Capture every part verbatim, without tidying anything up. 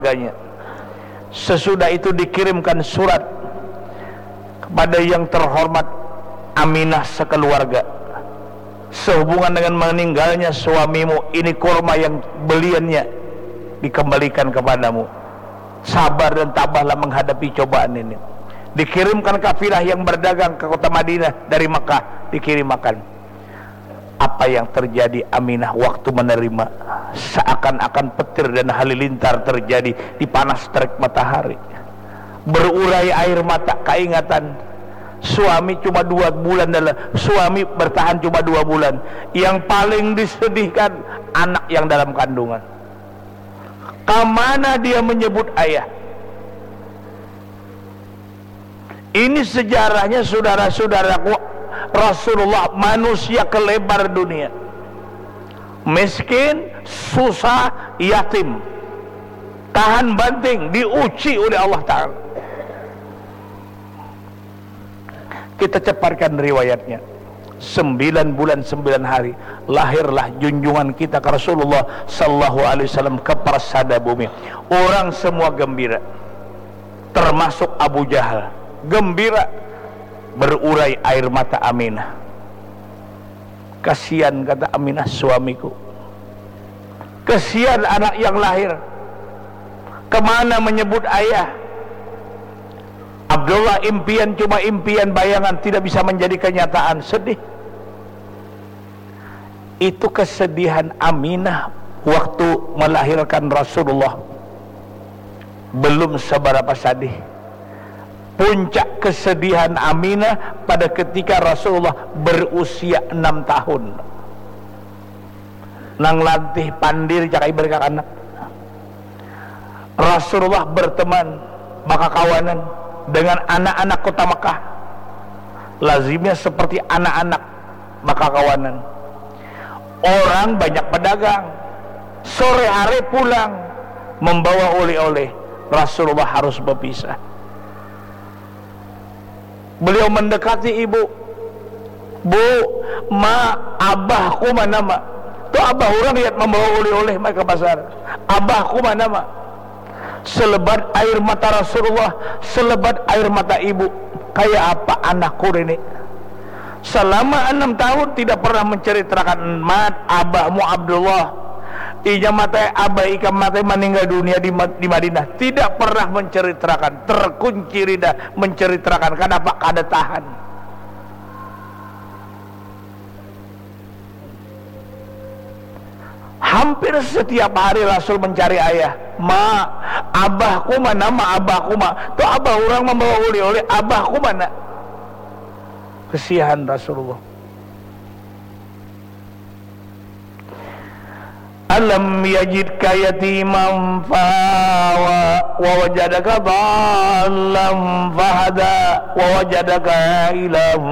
keluarganya. Sesudah itu dikirimkan surat kepada yang terhormat Aminah sekeluarga. Sehubungan dengan meninggalnya suamimu, ini kurma yang beliannya dikembalikan kepadamu. Sabar dan tabahlah menghadapi cobaan ini. Dikirimkan kafilah yang berdagang ke kota Madinah dari Mekah, dikirim makan. Apa yang terjadi Aminah waktu menerima? Seakan-akan petir dan halilintar terjadi di panas terik matahari. Berurai air mata keingatan. Suami cuma dua bulan dalam, suami bertahan cuma dua bulan. Yang paling disedihkan anak yang dalam kandungan. Kamana dia menyebut ayah? Ini sejarahnya, saudara-saudaraku, Rasulullah, manusia kelebar dunia. Miskin, susah, yatim. Tahan banting, diuji oleh Allah Ta'ala. Kita cepatkan riwayatnya. Sembilan bulan, sembilan hari, lahirlah junjungan kita ke Rasulullah sallallahu alaihi wasallam ke persada bumi. Orang semua gembira. Termasuk Abu Jahal. Gembira. Berurai air mata Aminah. "Kasihan," kata Aminah, "suamiku. Kasihan anak yang lahir. Kemana menyebut ayah?" Abdullah, impian cuma impian bayangan, tidak bisa menjadi kenyataan. Sedih. Itu kesedihan Aminah waktu melahirkan Rasulullah. Belum seberapa sadih. Puncak kesedihan Aminah pada ketika Rasulullah berusia enam tahun. Nang lantih pandir, cak ai berkakanak. Rasulullah berteman, bakakawanan dengan anak-anak kota Mekah. Lazimnya seperti anak-anak bakakawanan. Orang banyak pedagang. Sore hari pulang membawa oleh-oleh. Rasulullah harus berpisah. Beliau mendekati ibu. "Bu, ma, abahku mana, ma?" Tu abah urang yat membawa oleh-oleh mai ke pasar. "Abahku mana, ma?" Selebat air mata Rasulullah, selebat air mata ibu. "Kaya apa anakku ini? Selama enam tahun tidak pernah menceritakan mat abahmu Abdullah. Inya mate, abah ikam mate, meninggal dunia di Ma-, di Madinah. Tidak pernah menceritakan, terkunci lidah menceritakan. Kenapa kada tahan?" Hampir setiap hari Rasul mencari ayah. "Ma, abahku mana, ma, abahku, ma?" Tu abah urang membawa oleh-oleh, "Abahku mana?" Kesiahan Rasulullah. "Alam yajidka yatiman fa wa, wa wajadaka dhallan fahada, wa wajadaka ailan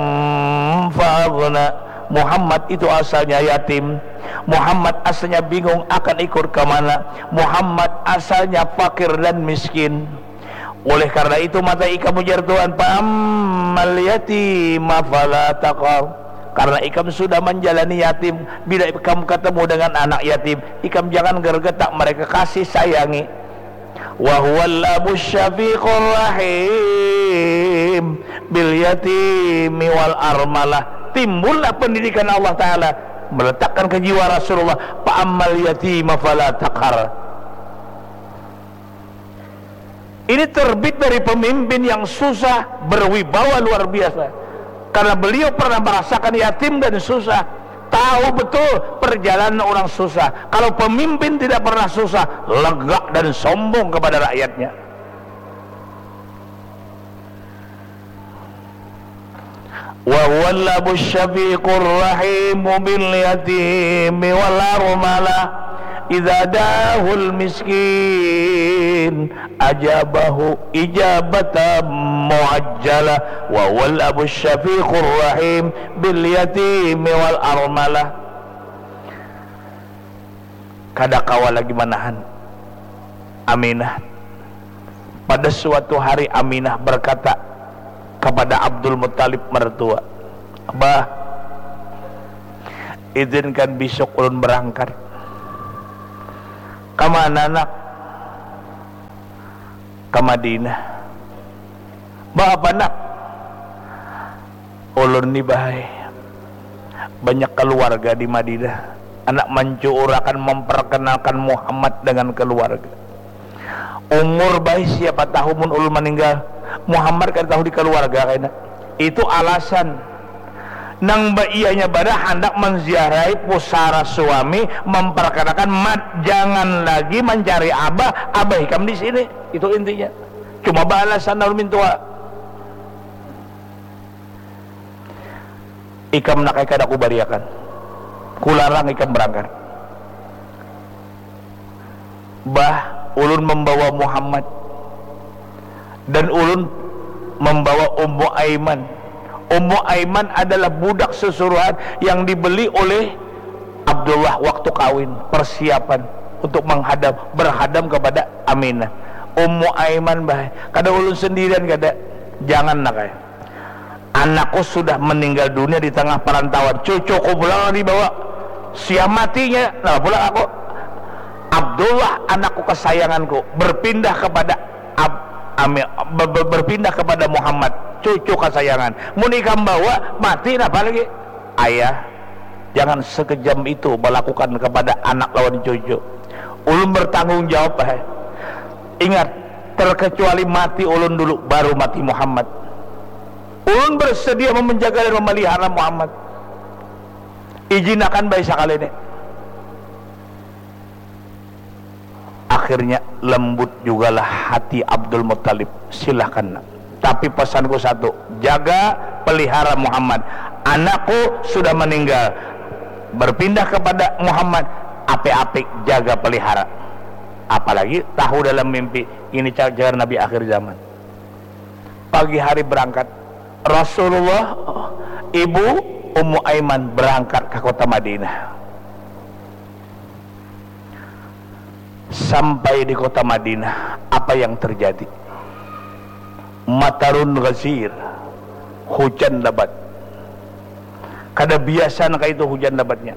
fa aghna." Muhammad itu asalnya yatim. Muhammad asalnya bingung akan ikut ke mana. Muhammad asalnya fakir dan miskin. Oleh karena itu, mata ikam, ujar Tuhan, "Fa ammal yatima fala taqhar." Karena ikam sudah menjalani yatim, bila ikam ketemu dengan anak yatim, ikam jangan gergetak mereka, kasih sayangi. "Wa huwal abus syafiqur rahim bil yatimi wal armalah." Timbullah pendidikan Allah Ta'ala meletakkan ke jiwa Rasulullah, "Fa ammal yatima fala taqhar." Ini terbit dari pemimpin yang susah, berwibawa luar biasa. Karena beliau pernah merasakan yatim dan susah, tahu betul perjalanan orang susah. Kalau pemimpin tidak pernah susah, lega dan sombong kepada rakyatnya. "Wa huwal abus syafiqur rahimu bil yatimi wal armalah, idza dahul miskin ajabahu ijabatan muajjalah. Wa huwal abus syafiqur rahim bil yatimi wal armalah." Kada kawa lagi manahan Aminah. Pada suatu hari, Aminah berkata kepada Abdul Muttalib mertua, "Bah, izinkan besok ulun berangkat." "Kamana, nak?" Ka Madinah. Ba apa, Nak? Ulun ni, Bah ai, banyak kaluarga di Madinah. Handak mancuurakan, mamparkanalkan Muhammad dangan kaluarga. Umur, Bah ai, siapa tahu mun ulun maninggal, Muhammad kada tahu di kaluarga kaina. Itu alasan. Nang baianya banar handak manziarahi pusara suami, mamparkanakan, Mat, jangan lagi mancari abah, abah ikam di sini. Itu intinya. Cuma baalasan lalu mintua. Ikam, Nak ai, kada kubariakan. Kularang ikam barangkat. Bah, ulun mambawa Muhammad dan ulun mambawa Ummu Aiman. Ummu Aiman adalah budak susuruhan yang dibeli oleh Abdullah waktu kawin, persiapan untuk menghadam, berhadam kepada Aminah. Ummu Aiman, Bah ai, kada ulun sendirian, kada. Jangan, Nak ai. Anakku sudah meninggal dunia di tengah perantauan. Cucuku pulang dibawa. Sia matinya, nah, pulang aku. Abdullah, anakku kesayanganku, berpindah kepada Ab-, Ami-, be-, be-, berpindah kepada Muhammad, cucu kesayangan. Mun ikam bawa, mati napa lagi? Ayah, jangan sekejam itu melakukan kepada anak lawan cucu. Ulun bertanggung jawab, Bah ai. Ingat, terkecuali mati ulun dulu, baru mati Muhammad. Ulun bersedia memenjaga dan memelihara Muhammad. Ijinakan, Bah ai, sakali ni. Akhirnya lembut jugalah hati Abdul Muttalib. Silahkan, Nak. Tapi pesanku satu, jaga, pelihara Muhammad. Anakku sudah meninggal, berpindah kepada Muhammad, apik-apik jaga, pelihara. Apalagi tahu dalam mimpi, ini ca-, jar Nabi akhir zaman. Pagi hari berangkat, Rasulullah, ibu, Ummu Aiman berangkat ke kota Madinah. Sampai di kota Madinah, apa yang terjadi? Matarun ghazir, hujan lebat. Kada biasa nang kaitu hujan lebatnya.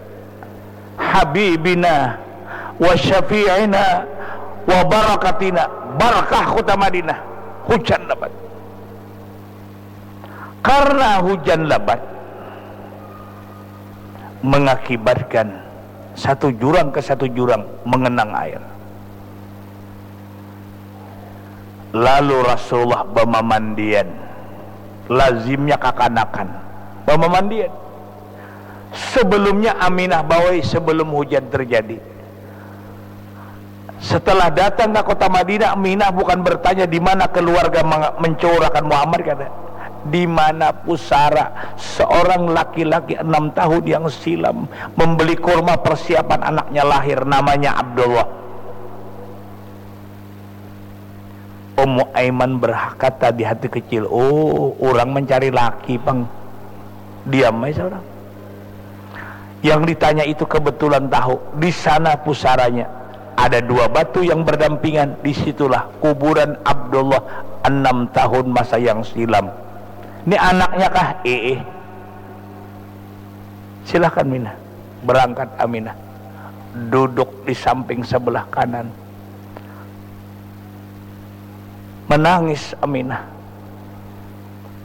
Habibina wa syafi'ina wa barakatina, barakah kota Madinah, hujan lebat. Karena hujan lebat mengakibatkan satu jurang ke satu jurang mengenang air. Lalu Rasulullah bamamandian, lazimnya kakanakan bamamandian. Sebelumnya Aminah bawai, sebelum hujan terjadi. Setelah datang ke kota Madinah, Aminah bukan bertanya di mana keluarga manga-, mencuurakan Muhammad, kada. Di mana pusara seorang laki-laki enam tahun yang silam membeli kurma persiapan anaknya lahir, namanya Abdullah. Ummu Aiman berkata di hati kecil, "Oh, urang mencari laki pang." Diam ai seorang. Yang ditanya itu kebetulan tahu, di sana pusaranya. Ada dua batu yang berdampingan, di situlah kuburan Abdullah enam tahun masa yang silam. Ini anaknya kah? Iih. Silahkan, Minah. Berangkat Aminah. Duduk di samping sebelah kanan. Menangis Aminah.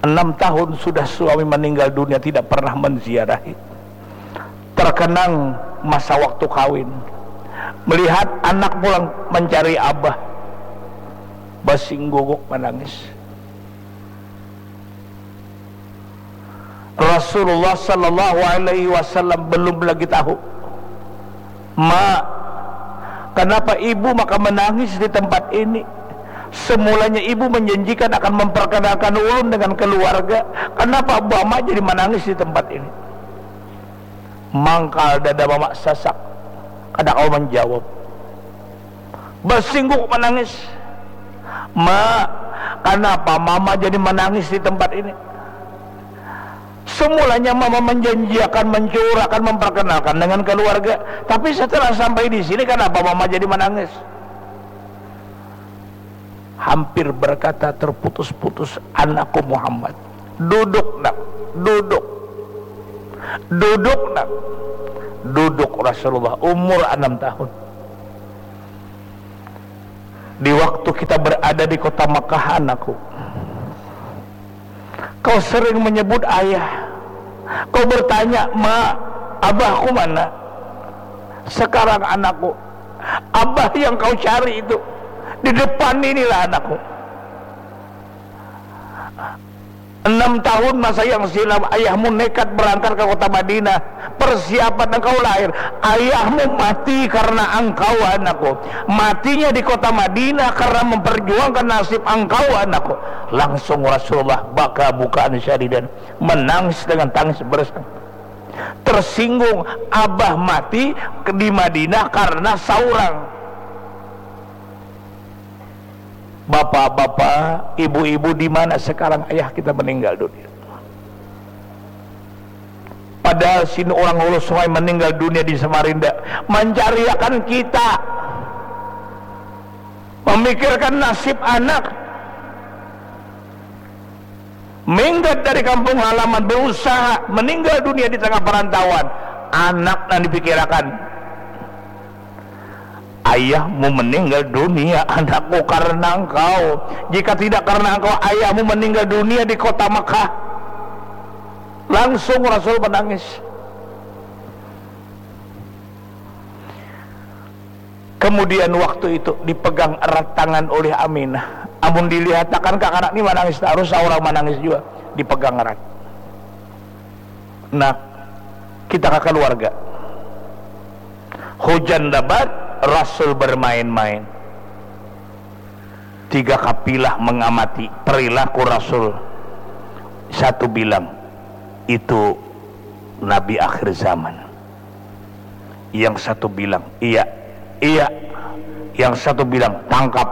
Enam tahun sudah suami meninggal dunia, tidak pernah menziarahi. Terkenang masa waktu kawin. Melihat anak pulang mencari abah. Basinggunguk menangis. Rasulullah sallallahu alaihi wasallam belum lagi tahu. "Ma, kenapa ibu maka menangis di tempat ini? Semulanya ibu menjanjikan akan memperkenalkan ulun dengan keluarga. Kenapa mama jadi menangis di tempat ini?" Mangkal dada mama sasak. Kada kawa menjawab. Basingguk menangis. "Ma, kenapa mama jadi menangis di tempat ini? Semulanya mama menjanjiakan, mencuurakan, memperkenalkan dengan keluarga. Tapi setelah sampai di sini, kenapa mama jadi menangis?" Hampir berkata terputus-putus, "Anakku Muhammad. Duduk, Nak. Duduk. Duduk, Nak." Duduk Rasulullah, umur enam tahun. Di waktu kita berada di kota Mekah, anakku, kau sering menyebut ayah. Kau bertanya, "Ma, abahku mana?" Sekarang, anakku, abah yang kau cari itu di depan inilah, anakku. Enam tahun masa yang silam, ayahmu nekat berangkat ke kota Madinah. Persiapan engkau lahir. Ayahmu mati karena engkau, anakku. Matinya di kota Madinah karena memperjuangkan nasib engkau, anakku. Langsung Rasulullah baka bukaan syadidan. Menangis dengan tangis bersang. Tersinggung, abah mati di Madinah karena saurang. Bapak-bapak, ibu-ibu, di mana sekarang ayah kita meninggal dunia? Padahal sini orang Hulu Sungai meninggal dunia di Samarinda, mencariakan kita, memikirkan nasib anak. Minggat dari kampung halaman, berusaha, meninggal dunia di tengah perantauan. Anak nang dipikirakan. Ayahmu meninggal dunia, anakku, karena engkau. Jika tidak karena engkau, ayahmu meninggal dunia di kota Mekah. Langsung Rasul menangis. Kemudian waktu itu dipegang erat tangan oleh Aminah. Amun dilihatakan kakanak ni manangis tarus, saurang manangis jua. Dipegang erat. Nah, kita ka keluarga. Hujan lebat, Rasul bermain-main. Tiga kapilah mengamati perilaku Rasul. Satu bilang, "Itu Nabi akhir zaman." Yang satu bilang, "Iya, iya." Yang satu bilang, "Tangkap."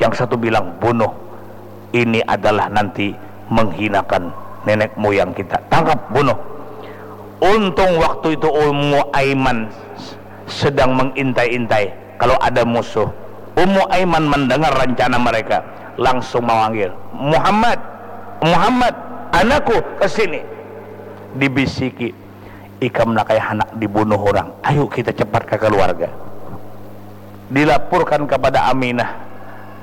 Yang satu bilang, "Bunuh. Ini adalah nanti menghinakan nenek moyang kita. Tangkap, bunuh." Untung waktu itu Ummu Aiman sedang mengintai-intai kalau ada musuh. Ummu Aiman mendengar rencana mereka, langsung memanggil, "Muhammad, Muhammad, anakku, ke sini." Dibisiki, "Ikam nak kaya handak dibunuh orang. Ayu kita cepat ka keluarga." Dilaporkan kepada Aminah.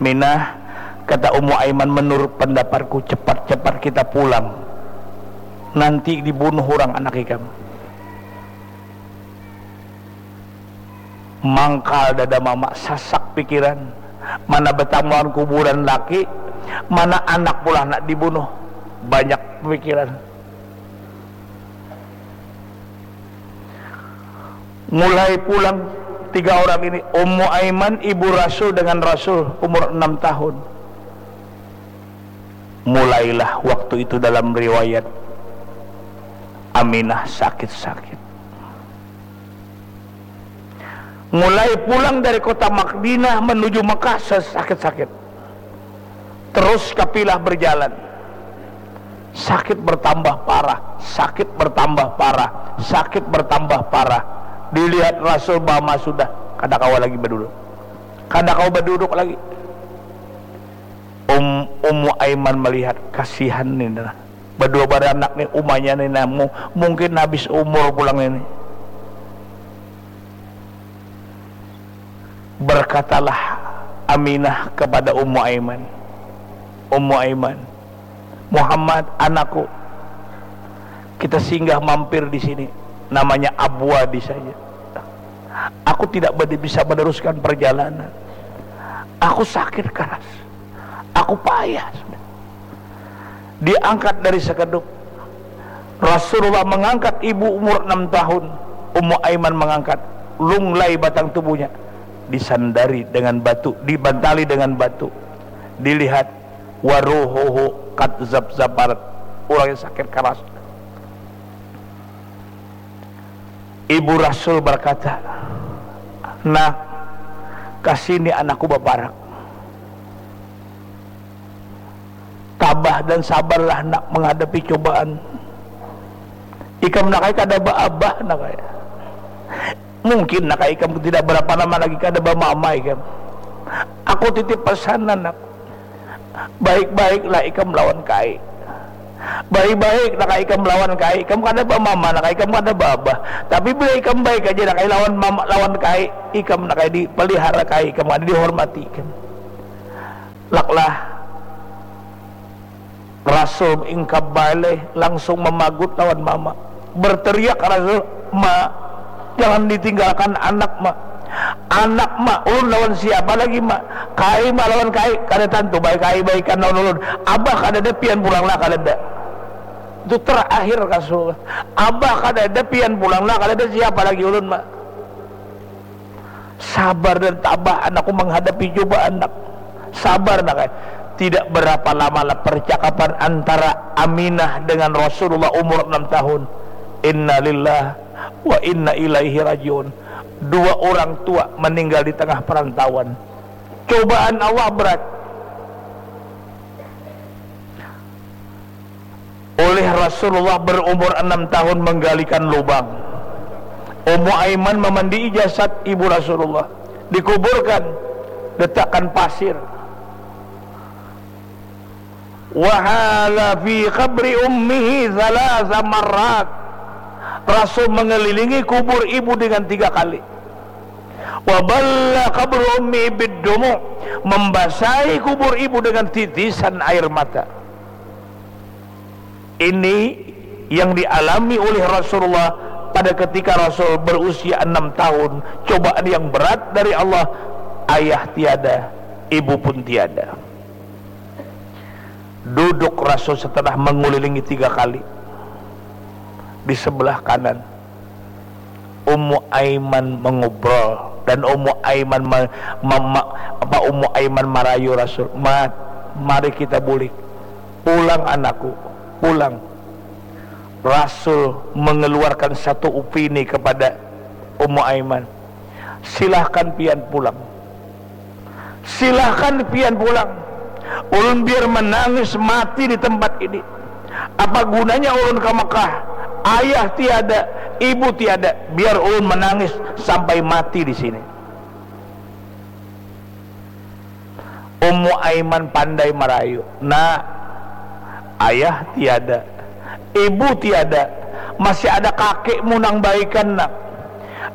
"Minah," kata Ummu Aiman, "menurut pendapatku, cepat-cepat kita pulang. Nanti dibunuh orang anak ikam." Mangkal dada mama, sasak pikiran. Mana betamu lawan kuburan laki, mana anak pulang nak dibunuh. Banyak pemikiran. Mulai pulang tiga orang ini, Ummu Aiman, ibu Rasul, dengan Rasul, umur enam tahun. Mulailah waktu itu, dalam riwayat, Aminah sakit-sakit. Mulai pulang dari kota Madinah menuju Mekah, sakit-sakit. Terus kapilah berjalan. Sakit bertambah parah, sakit bertambah parah, sakit bertambah parah. Dilihat Rasul, mama sudah kada kawa lagi baduduk. Kada kawa baduduk lagi. Um, Ummu Aiman melihat, kasihan ni nah. Badua baranak ni, umanya ni namu, mungkin habis umur pulang ini. Berkatalah Aminah kepada Ummu Aiman, "Ummu Aiman, Muhammad, anakku, kita singgah mampir di sini, namanya Abwadi saja. Aku tidak bade-, bisa meneruskan perjalanan. Aku sakit keras. Aku payah sudah." Diangkat dari sekedup. Rasulullah mengangkat ibu umur enam tahun. Ummu Aiman mengangkat. Lunglai batang tubuhnya. Disandari dengan batu, dibantali dengan batu. Dilihat, "Waruhuhu kat zabzabarat." Urangnya sakit keras. Ibu Rasul berkata, "Nak, kasini anakku baparak. Tabah dan sabarlah nak menghadapi cobaan. Ikam nak ai kada baabah nak ai. Mungkin nak ai ikam tidak berapa lama lagi kada bamama ikam. Aku titip pesan nak. Baik-baiklah ikam lawan kai. Baik-baik nak ai ikam lawan kai. Ikam kada bamama nak ai, ikam kada baabah. Tapi bila ikam baik aja nak ai lawan mama, lawan kai, ikam nak ai dipelihara kai, ikam kada dihormati ikam." Lah, Rasul ingkab baleh langsung mamagut lawan mama. Berteriak Rasul, "Ma, jangan ditinggalkan anak, Ma. Anak, Ma, ulun lawan siapa lagi, Ma? Kai, Ma, lawan kai, kada tantu baik kai baikan lawan ulun. Abah kadada, pian pulang lah kadada." Itu terakhir Rasul. "Abah kadada, pian pulang lah kadada, siapa lagi ulun, Ma?" Sabar dan tabah anakku menghadapi cobaan, Nak. Sabar, Nak. Tidak berapa lama lah percakapan antara Aminah dengan Rasulullah umur enam tahun. Innalillah wa inna ilaihi rajiun. Dua orang tua meninggal di tengah perantauan. Cobaan Allah berat. Oleh Rasulullah berumur enam tahun menggalikan lubang. Ummu Aiman memandii jasad ibu Rasulullah. Dikuburkan, letakkan pasir. Wahala fi qabri ummihi thalatha marrat. Rasul mengelilingi kubur ibu dengan tiga kali. Waballa qabru ummi biddumu, membasahi kubur ibu dengan titisan air mata. Ini yang dialami oleh Rasulullah pada ketika Rasul berusia enam tahun, cobaan yang berat dari Allah, ayah tiada, ibu pun tiada. Duduk Rasul setelah mengulilingi tiga kali. Di sebelah kanan, Ummu Aiman mengobrol dan Ummu Aiman me, me, me, apa Ummu Aiman marayu Rasul, "Mat, mari kita bulik. Pulang anakku, pulang." Rasul mengeluarkan satu opini kepada Ummu Aiman, "Silahkan pian pulang. Silahkan pian pulang. Ulun biar menangis mati di tempat ini. Apa gunanya ulun ke Mekah? Ayah tiada, ibu tiada. Biar ulun menangis sampai mati di sini." Ummu Aiman pandai marayu. "Nak, ayah tiada, ibu tiada, masih ada kakekmu nang baikan, Nak.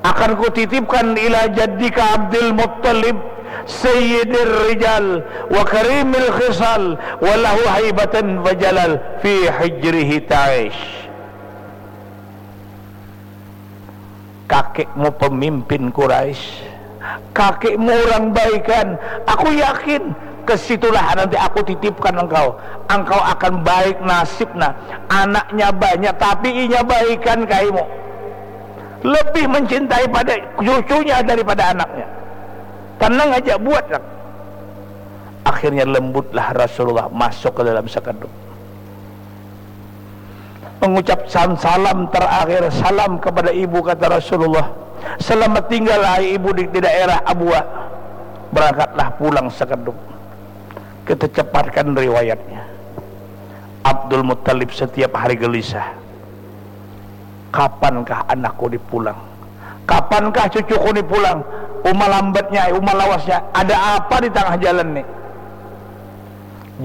Akan kutitipkan ila jaddika Abdul Muttalib, sayyidir rijal, wa karimil khisal, wa lahu haibatan wa jalal, fi hijrihi ta'ish." Kakekmu pemimpin Quraisy, kakekmu orang baikan. Aku yakin ke situlah nanti aku titipkan engkau. Engkau akan baik nasibnya. Anaknya banyak, tapi inya baikan kaimu. Lebih mencintai pada cucunya daripada anaknya. Tenang aja, buat, Nak. Akhirnya lembutlah Rasulullah masuk ke dalam sekedup. Mengucap salam, salam terakhir, salam kepada ibu, kata Rasulullah. "Selamat tinggal, hai ibu, di, di daerah Abua." Berangkatlah pulang sekedup. Kita cepatkan riwayatnya. Abdul Muttalib setiap hari gelisah. "Kapankah anakku ni pulang? Kapankah cucuku ni pulang? Uma lambatnya, uma lawasnya. Ada apa di tengah jalan ni?"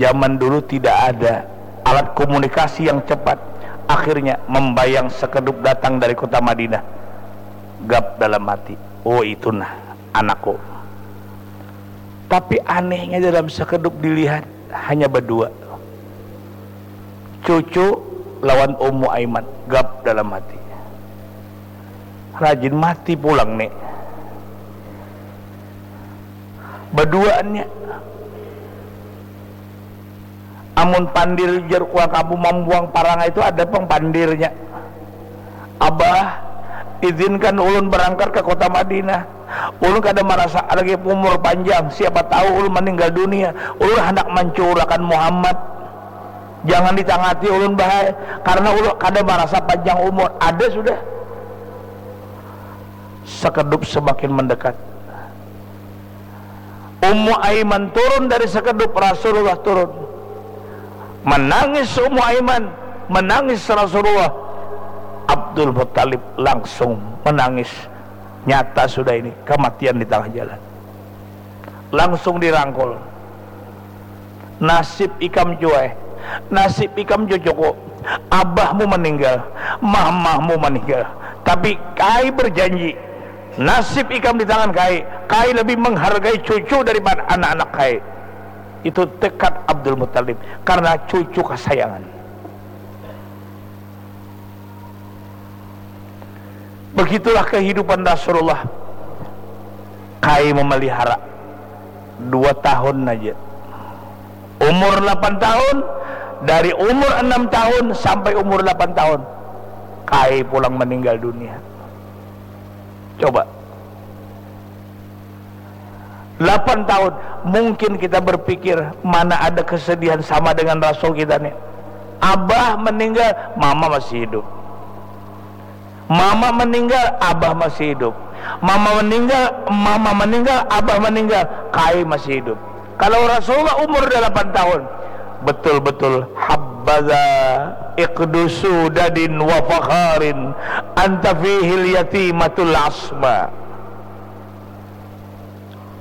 Zaman dulu tidak ada alat komunikasi yang cepat. Akhirnya membayang sekedup datang dari kota Madinah. Gap dalam hati, "Oh, itu nah anakku." Tapi anehnya, dalam sekedup dilihat, hanya berdua. Cucu lawan Ummu Aiman, gap dalam hati. Rajin mati pulang ni. Berduaannya. Amun pandir, jar urang kampung, mambuang parangai itu ada pang pandirnya. "Abah, izinkan ulun berangkat ke kota Madinah. Ulun kada marasa lagi umur panjang, siapa tahu ulun meninggal dunia. Ulun handak mancurakan Muhammad. Jangan ditangati ulun, Bah ai, karena ulun kada marasa panjang umur." Ada sudah. Sekedup semakin mendekat. Ummu Aiman turun dari sekedup, Rasulullah turun. Menangis Ummu Aiman, menangis Rasulullah. Abdul Muttalib langsung menangis. Nyata sudah ini, kematian di tengah jalan. Langsung dirangkul. "Nasib ikam, Cuai. Nasib ikam, cucuku. Abahmu meninggal, mamahmu meninggal. Tapi kai berjanji, nasib ikam di tangan kai. Kai lebih menghargai cucu daripada anak-anak kai." Itu tekad Abdul Muttalib karena cucu kesayangan. Begitulah kehidupan Rasulullah. Kai memelihara dua tahun aja. Umur delapan tahun, dari umur enam tahun sampai umur delapan tahun, kai pulang meninggal dunia. Coba. Delapan tahun, mungkin kita berpikir, mana ada kesedihan sama dengan Rasul kita nih. Abah meninggal, mama masih hidup. Mama meninggal, abah masih hidup. Mama meninggal, mama meninggal, abah meninggal, kai masih hidup. Kalau Rasulullah umur delapan tahun, betul-betul habbaza iqdu sudadin wa fakharin anta fihil yatimatul asma.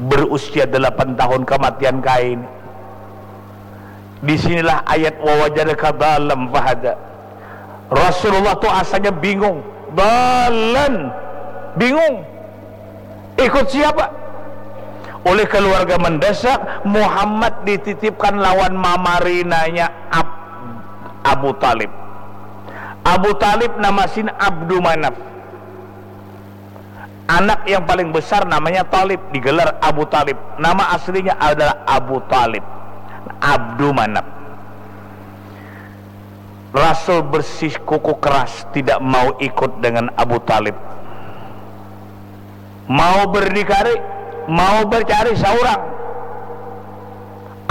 Berusia delapan tahun kematian kain. Di sinilah ayat wawajadaka dalam fahada. Rasulullah tuh asalnya bingung, dalan, bingung. Ikut siapa? Oleh keluarga mendesak, Muhammad dititipkan lawan mamarinanya Ab- Abu Talib. Abu Talib nama sin Abdu Manaf. Anak yang paling besar namanya Talib, digelar Abu Talib. Nama aslinya adalah Abu Talib, Abdu Manaf. Rasul bersikuku keras tidak mau ikut dengan Abu Talib. Mau berdikari, mau bercari seorang.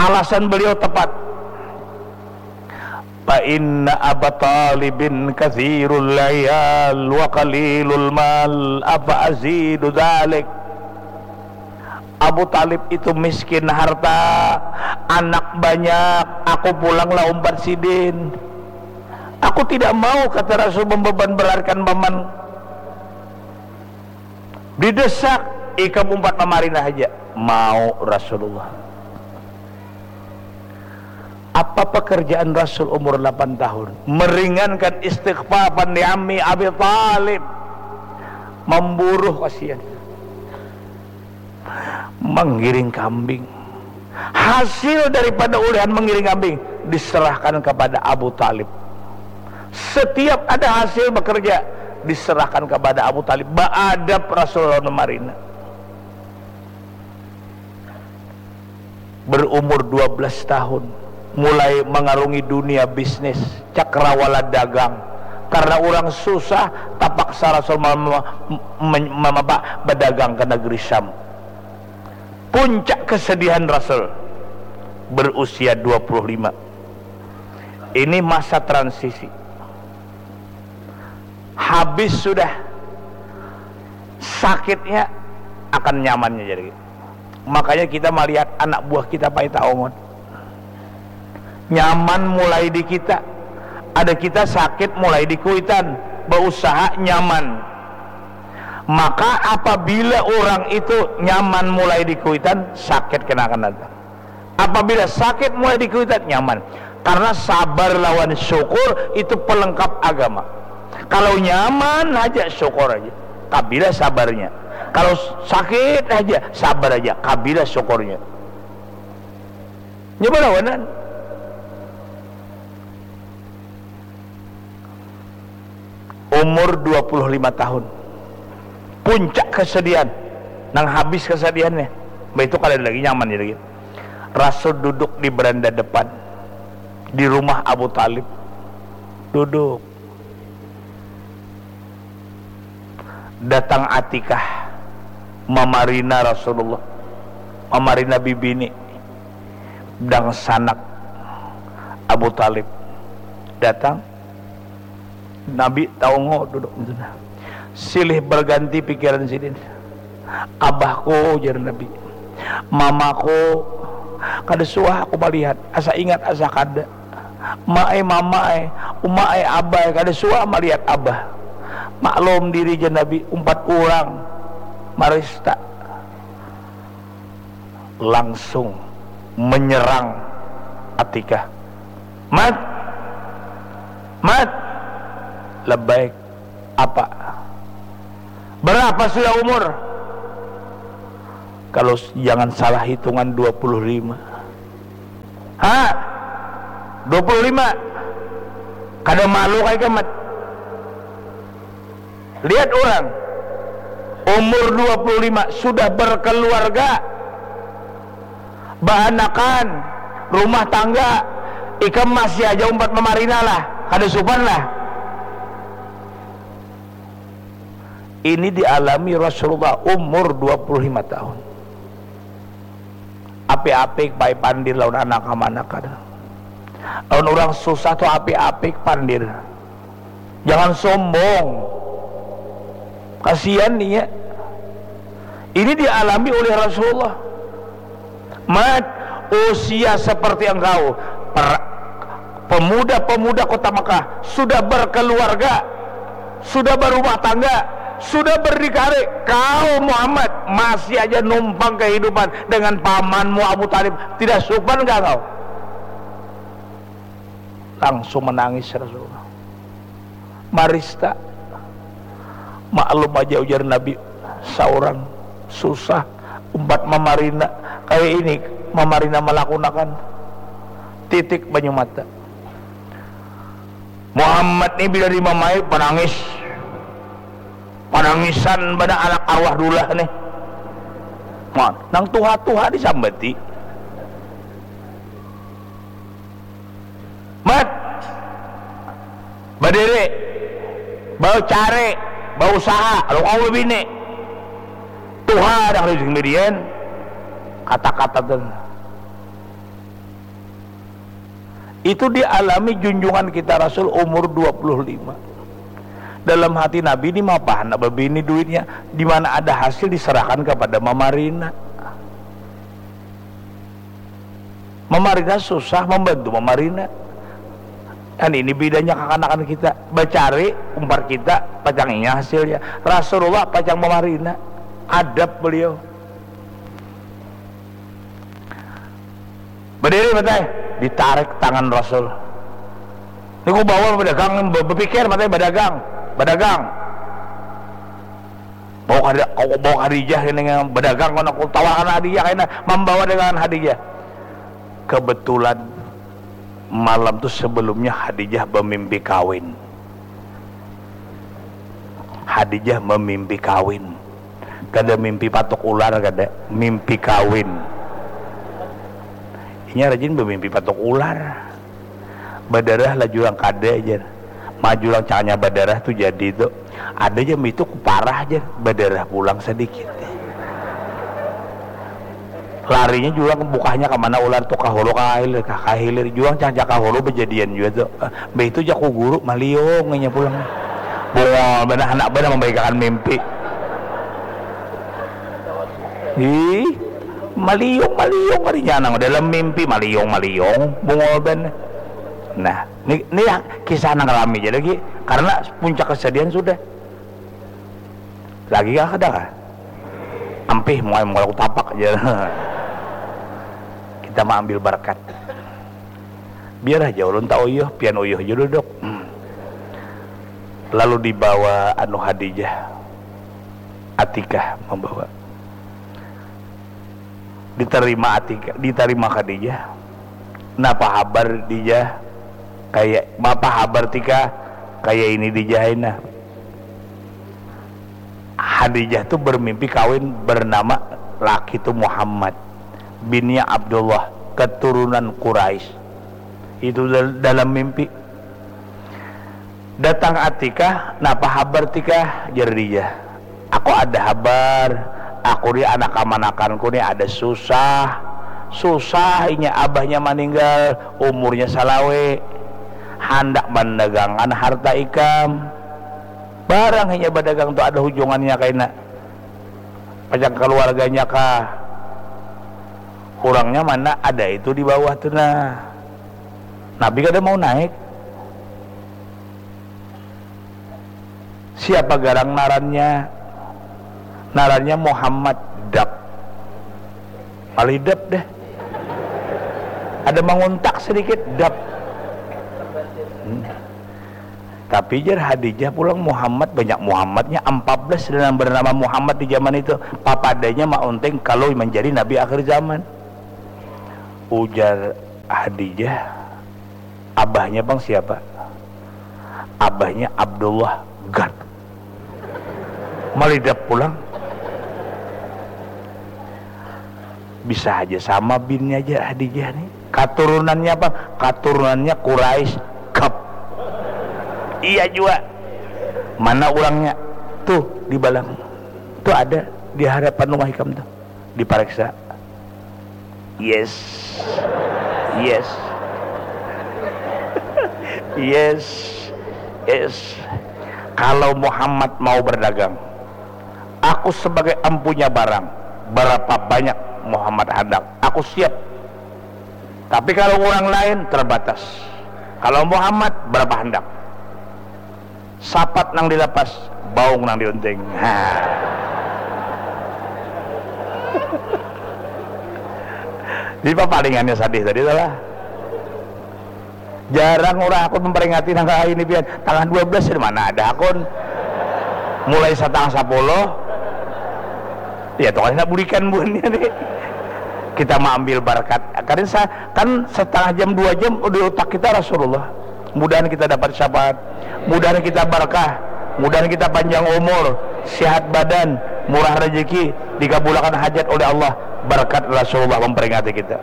Alasan beliau tepat. Fa inna Aba Talibin kathirul layal wa qalilul mal, afa azidu dhalik. Abu Talib itu miskin harta, anak banyak, aku pulanglah umpat sidin. Aku tidak mau, kata Rasul, membeban beratkan paman. Didesak, ikam umpat mamarina haja. Mau Rasulullah. Apa pekerjaan Rasul umur delapan tahun? Meringankan istighfafan di ammi Abi Talib. Memburuh kasihan. Menggiring kambing. Hasil daripada ulihan menggiring kambing diserahkan kepada Abu Talib. Setiap ada hasil bekerja diserahkan kepada Abu Talib. Baadab Rasulullah marina. Berumur dua belas tahun, mulai mengarungi dunia bisnis, cakrawala dagang. Karena orang susah, tapaksa Rasul mem- mem- mem- apa, berdagang ke negeri Syam. Puncak kesedihan Rasul berusia dua puluh lima. Ini masa transisi. Habis sudah sakitnya, akan nyamannya jadi. Makanya kita melihat anak buah kita pai taongot. Nyaman mulai di kita. Ada kita sakit mulai di kuitan, berusaha nyaman. Maka apabila orang itu nyaman mulai di kuitan, sakit kena akan datang. Apabila sakit mulai di kuitan, nyaman. Karena sabar lawan syukur itu pelengkap agama. Kalau nyaman aja, syukur aja. Kabila sabarnya. Kalau sakit aja, sabar aja. Kabila syukurnya. Nyoba lawanan. Umur dua puluh lima tahun. Puncak kesedihan. Nang habis kesedihannya. Bah itu kada ada lagi nyaman ya lagi. Rasul duduk di beranda depan. Di rumah Abu Talib. Duduk. Datang Atikah. Mamarina Rasulullah. Mamarina bibini. Dangsanak Abu Talib. Datang. Nabi taungo duduk di sana. Silih berganti pikiran sidin. Abahku, jar Nabi. Mamaku, kada suah aku malihat. Asa ingat, asa kada. Ma ai, mama ai, uma ai, abah ai, kada suah malihat abah. Maklum diri, jar Nabi, umpat urang marista. Langsung menyerang Atikah. Mat! Mat! Labbaik. Apa? Berapa sudah umur? Kalau s- jangan salah hitungan, dua puluh lima. Dua puluh lima. Kada malu kah ikam, Mat? Lihat orang, umur dua puluh lima sudah berkeluarga, baanakan, rumah tangga, ikam masih aja umpat mamarina lah, kada supan lah. Ini dialami Rasulullah umur dua puluh lima tahun. Apik-apik bae pandir lawan anak amanah kada. Lawan urang susah tu apik-apik pandir. Jangan sombong. Kasihan inya. Ini dialami oleh Rasulullah. Mat, usia seperti engkau, per- pemuda-pemuda kota Mekah sudah berkeluarga, sudah berumah tangga, sudah berdikari. Kau Muhammad masih aja numpang kehidupan dengan pamanmu Abu Talib. Tidak supan kah kau? Langsung menangis Rasulullah. Marista. Maklum aja ujar Nabi, seorang susah umpat mamarina. Kayak ini, mamarina melakunakan titik banyu mata. Muhammad ni bila dimamai panangis. Panangisan pada anak arwah dulah nih. Nah, nang tuha-tuha disambati. Mat, badiri, bacari, bausaha, lalu kau babini. Tuha dah rezeki mirian. Kata-kata tu. Itu dialami junjungan kita Rasul umur dua puluh lima. Dalam hati Nabi ini mapahana babini duitnya, di mana ada hasil diserahkan kepada mamarina. Mamarina susah, membantu mamarina. Dan ini bedanya kakanakan kita, bacari umpar kita pacang inya hasilnya. Rasulullah pacang mamarina, adab beliau. Badiri matai, ditarik tangan Rasul. Ini ku bawa badagang, be- bepikir matai badagang, badagang. Bawa kada, kau bawa Khadijah ini badagang, kau nak tawarkan Khadijah, kena membawa dagangan Khadijah. Kebetulan malam tu sebelumnya Khadijah bemimpi kawin. Khadijah memimpi kawin. Kada mimpi patuk ular, kada. Mimpi kawin. Inya rajin bemimpi patuk ular. Badarah lah jurang kada, jar. Maju lang caknya badarah tu jadi tu. Ada jam itu kuparah, jar. Badarah pulang sedikit. Larinya jurang bukahnya ke mana ular tu, ka hulu ka hilir, ka, ka hilir. Jurang cang caka hulu bejadian jua tu. Mbah itu jaku guru maliung inya pulang. Bungol banar, handak banar mambahikakan mimpi. Ih, maliung, maliung karinya nang dalam mimpi, maliung, maliung, bungol banar. Nah, ni, ni kisah nang rami ja lagi karena puncak kesedihan sudah. Lagi kah kada kah? Ampih, muai mengolok tapak aja. Kita mengambil berkat. Biar aja ulun tak uyuh, pian uyuh aja duduk. Hmm. Lalu dibawa anu Khadijah. Atikah membawa. Diterima Atikah, diterima Khadijah. Napa habar Dijah? Kayak apa habar Tika? Kayak ini Dijah aina. Khadijah tu bermimpi kawin bernama laki tu Muhammad binnya Abdullah, keturunan Quraisy. Itu dal- dalam mimpi. Datang Atikah, napa habar Tikah? Jar Dijah. Aku ada habar, aku ni anak kamanakanku ni ada susah. Susah inya abahnya maninggal, umurnya salawe. Handak mandagangkan harta ikam. Barang inya badagang tu ada hujungannya kaina. Pacang kaluarganya kah? Urangnya mana ada itu di bawah tu nah. Nabi kada mau naik. Siapa garang narannya? Narannya Muhammad Dap. Malidap deh. Ada manguntak sedikit, dap. Hmm. Tapi jar Hadijah pulang Muhammad, banyak Muhammadnya, empat belas dan yang bernama Muhammad di zaman itu. Papadanya maunting kalau menjadi nabi akhir zaman. Ujar Hadijah, Abahnya bang siapa? Abahnya Abdullah Gard. Malidap pulang. Bisa aja sama binnya aja Hadijah nih. Katurunannya apa? Katurunannya Quraisy Kap. Iya juga. Mana orangnya? Tuh di balang. Tuh ada di hadapan rumah ikam tuh. Dipareksa. Yes. Yes. Yes. Yes. Kalau Muhammad mau berdagang, aku sebagai empunya barang, berapa banyak Muhammad handak, aku siap. Tapi kalau orang lain, terbatas. Kalau Muhammad, berapa handak? Sapat nang dilapas, baung nang diunting. Ha. Di papalingannya sadih tadi salah. Jarang orang aku memperingati nang kayak ini pian. Tangah dua belas di mana ada akun? Mulai setengah sepuluh. Ya tuh kan bulikan buannya nih. Kita mau ambil berkat. Karena sa- kan setengah jam dua jam di otak kita Rasulullah. Mudahan kita dapat syafaat, mudahan kita berkah, mudahan kita panjang umur, sehat badan, murah rezeki, dikabulakan hajat oleh Allah berkat Rasulullah memperingati kita.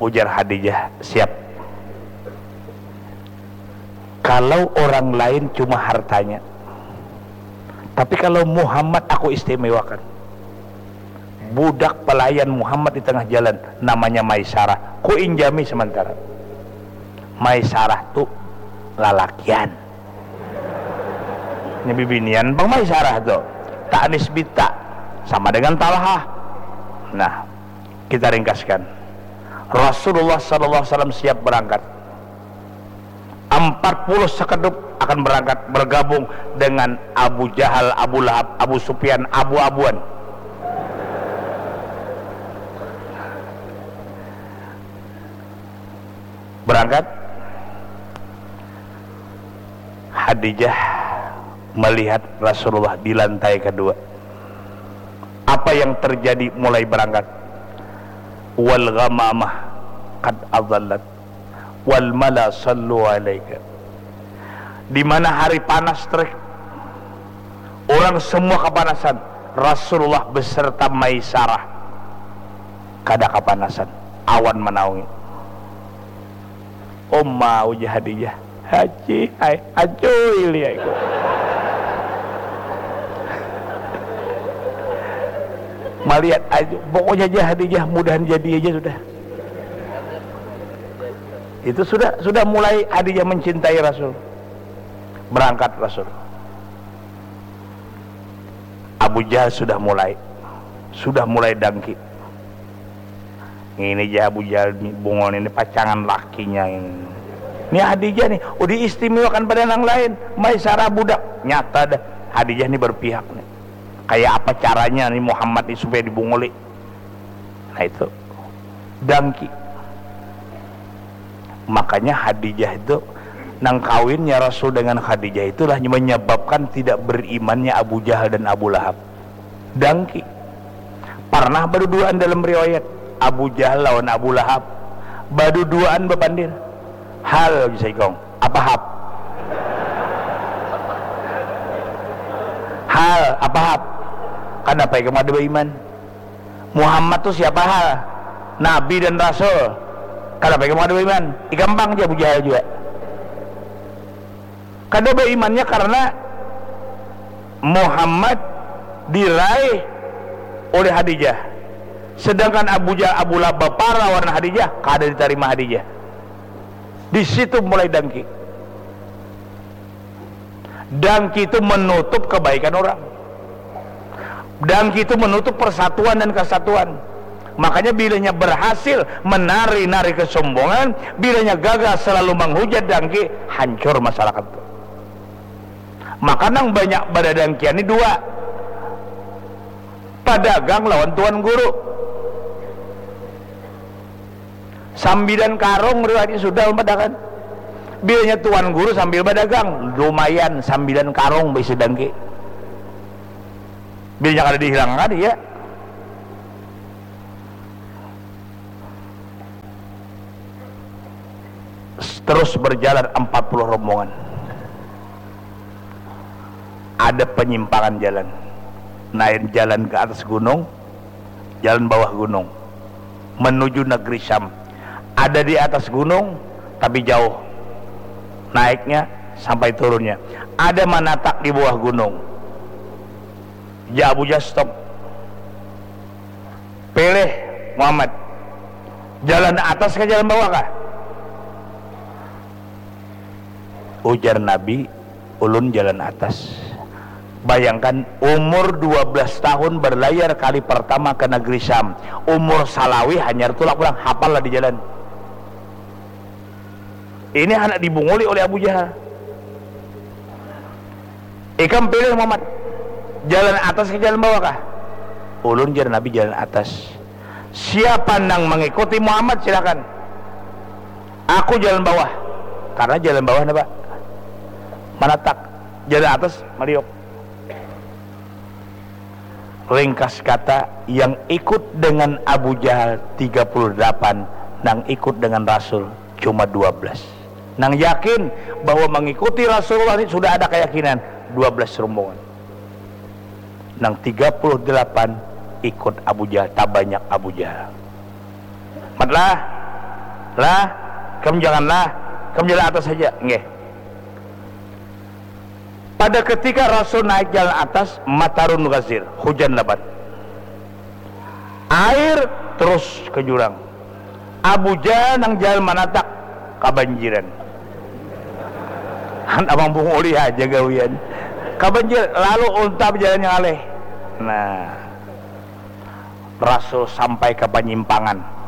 Ujar Hadijah, siap. Kalau orang lain cuma hartanya, tapi kalau Muhammad aku istimewakan. Budak pelayan Muhammad di tengah jalan, namanya Maisarah. Ku injami sementara. Maisarah tu lalakian. Ini bibinian bang Maisarah tu. Ta'nis bita sama dengan Talhah. Nah, kita ringkaskan. Rasulullah sallallahu alaihi wasallam siap berangkat. Empat puluh sekedup akan berangkat bergabung dengan Abu Jahal, Abu Lahab, Abu Sufyan, Abu-Abuan. Berangkat, Hadijah melihat Rasulullah di lantai kedua. Apa yang terjadi mulai berangkat? Wal ghamamah qad adallat wal mala sallu alaika. Di mana hari panas terik, orang semua kepanasan, Rasulullah beserta Maisarah kada kepanasan, awan menaungi. Oma ujar Hadijah, haji hai acuy liaiku. Melihat aja, pokoknya aja Hadijah mudahan jadi aja sudah. Itu sudah sudah mulai Hadijah mencintai Rasul. Berangkat Rasul. Abu Jahal sudah mulai sudah mulai dangki. Ini aja Abu Jahal ni, bungul ini pacangan lakinya ini. Ini Hadijah nih, oh diistimewakan pada nang lain. Maisarah budak, nyata dah Hadijah ni berpihak nih. Kayak apa caranya nih Muhammad nih supaya dibunguli? Nah itu dangki. Makanya Hadijah itu nang kawinnya Rasul dengan Khadijah itulah menyebabkan tidak berimannya Abu Jahal dan Abu Lahab. Dangki. Parnah baduduaan dalam riwayat Abu Jahal lawan Abu Lahab baduduaan bapandir. Hal bisa ikong apa hap? Hal apa hap? Kanapa ikam kada baiman? Muhammad tu siapa hal? Nabi dan Rasul. Kanapa ikam kada baiman? Ikam pang ja Abu Jahal jua. Kada baimannya karena Muhammad diraih oleh Hadijah, sedangkan Abu Jahal Abu Lahab bapara lawan Hadijah kada ditarima Hadijah. Di situ mulai dangki. Dangki itu menutup kebaikan orang. Dangki itu menutup persatuan dan kesatuan. Makanya bilanya berhasil menari-nari kesombongan, bilanya gagal selalu menghujat dangki, hancur masyarakat. Maka nang banyak badadangkian ni dua, padagang lawan tuan guru. Sambilan karung riwayatnya sudah umpatakan. Bilanya tuan guru sambil badagang, lumayan sambilan karung baisi dangki. Bilanya kada dihilangkan, iya. Terus berjalan empat puluh rombongan. Ada penyimpangan jalan. Lain jalan ke atas gunung, jalan bawah gunung. Menuju negeri Syam. Ada di atas gunung, tapi jauh. Naiknya sampai turunnya. Ada manatak di bawah gunung. Ja Abu Jahal stop. Pilih Muhammad. Jalan atas kah jalan bawah kah? Ujar Nabi, ulun jalan atas. Bayangkan, umur dua belas tahun berlayar kali pertama ke negeri Syam. Umur salawi hanyar tulak pulang, hapal lah di jalan. Ini anak dibunguli oleh Abu Jahal. Ikam pilih Muhammad, jalan atas ke jalan bawah kah? Ulun, jar Nabi, jalan atas. Siapa nang mengikuti Muhammad, silakan. Aku jalan bawah. Karena jalan bawah napa? Manatak. Jalan atas maliuk. Ringkas kata, yang ikut dengan Abu Jahal tiga puluh delapan, nang ikut dengan Rasul cuma dua belas. Nang yakin bahwa mengikuti Rasulullah ini sudah ada keyakinan, dua belas rombongan. Nang tiga puluh delapan ikut Abu Jahal, tabanyak Abu Jahal. Mat lah, lah, kam janganlah, kam jalan atas saja, nggih. Pada ketika Rasul naik jalan atas, matarun gazir, hujan lebat. Air terus ke jurang. Abu Jahal nang jalan manatak, kabanjiran. Han abang bunguli aja gawian. Kabanjir, lalu unta berjalan yang aleh. Nah, Rasul sampai ke penyimpangan.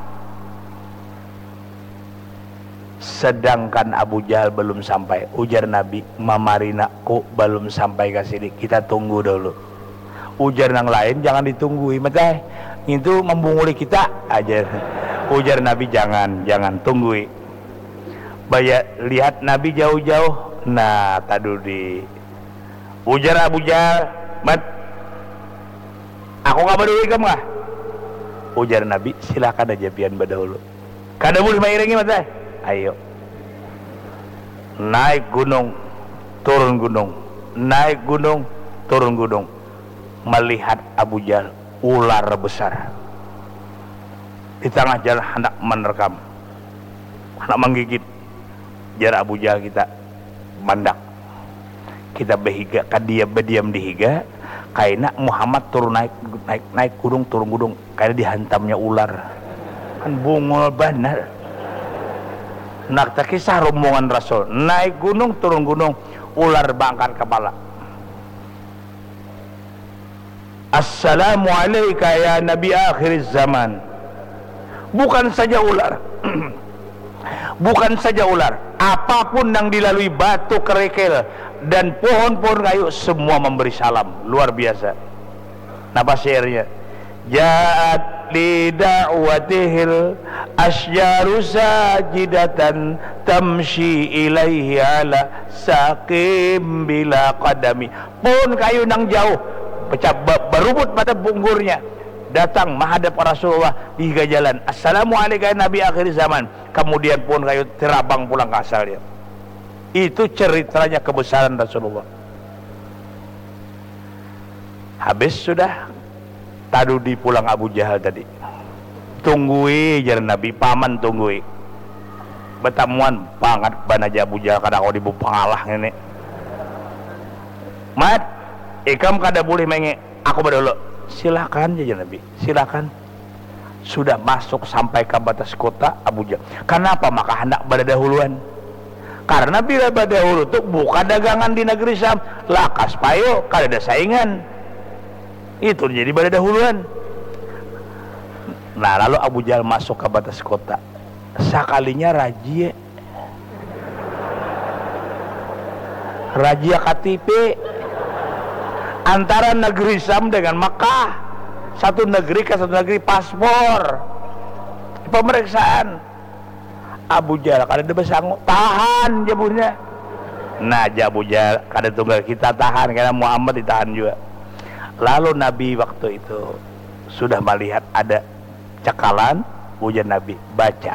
Sedangkan Abu Jahal belum sampai. Ujar Nabi, "Mamarina ku belum sampai ke sini. Kita tunggu dulu." Ujar nang lain, "Jangan ditunggui, Mat ai. Ngintu membunguli kita," ajar. Ujar Nabi, "Jangan, jangan, tunggui." Baya lihat Nabi jauh-jauh. Nah, tadudi. Ujar Abu Jahal, "Mat, aku kah badahulu ikam kah?" Ujar Nabi, "Silakan aja pian badahulu. Kada boleh mairingi, Mat ai. Ayo." Naik gunung, turun gunung, naik gunung, turun gunung. Melihat Abu Jahal, ular besar. Di tengah jalan handak menerkam. Handak menggigit. Jar Abu Jahal, "Kita mandak. Kita behiga, kadia bediam di higa, kaina Muhammad turun naik, naik, naik gunung, turun gunung, kaina dihantamnya ular." Kan bungul banar. Nah, kisah rombongan Rasul, naik gunung, turun gunung, ular baangkat kepala. "Assalamu alaika ya Nabi akhir zaman." Bukan saja ular, bukan saja ular, apapun yang dilalui, batu kerikil dan pohon-pohon kayu, semua memberi salam. Luar biasa. Napa syairnya? "Ja'at li da'watihil asjaru sajidatan tamshi ilaihi ala saqim bila qadami." Pohon kayu nang jauh, pecah, ba-, barubut pada bungkurnya, datang menghadap Rasulullah di higa jalan. "Assalamu alaika ya Nabi akhir zaman." Kemudian pohon kayu terabang pulang ke asalnya. Itu ceritanya kebesaran Rasulullah. Habis sudah, tadudi pulang Abu Jahal tadi. "Tunggui," jar Nabi, "paman tunggui." Batamuan bangat bana ja Abu Jahal, kada kawa dibawa pangalah ngini. "Mat, ikam kada boleh maingi, aku badahulu." "Silakan," jar Nabi, "silakan." Sudah masuk sampai ke batas kota, Abu Jahal, "Kanapa maka handak badadahuluan?" "Karena bila badahulu tu buka dagangan di negeri Syam, lakas payu, kadada saingan. Itu jadi badadahuluan." Nah, lalu Abu Jahal masuk ke batas kota. Sakalinya rajia. Rajia K T P antara negeri Syam dengan Mekah. Satu negeri ke satu negeri, paspor. Pemeriksaan. Abu Jahal kada ada basangu. "Tahan," jar buhannya. Nah, jar Abu Jahal, "Kada tunggal kita tahan, karena Muhammad ditahan juga." Lalu Nabi waktu itu sudah melihat ada cakalan, ujar Nabi, "Baca."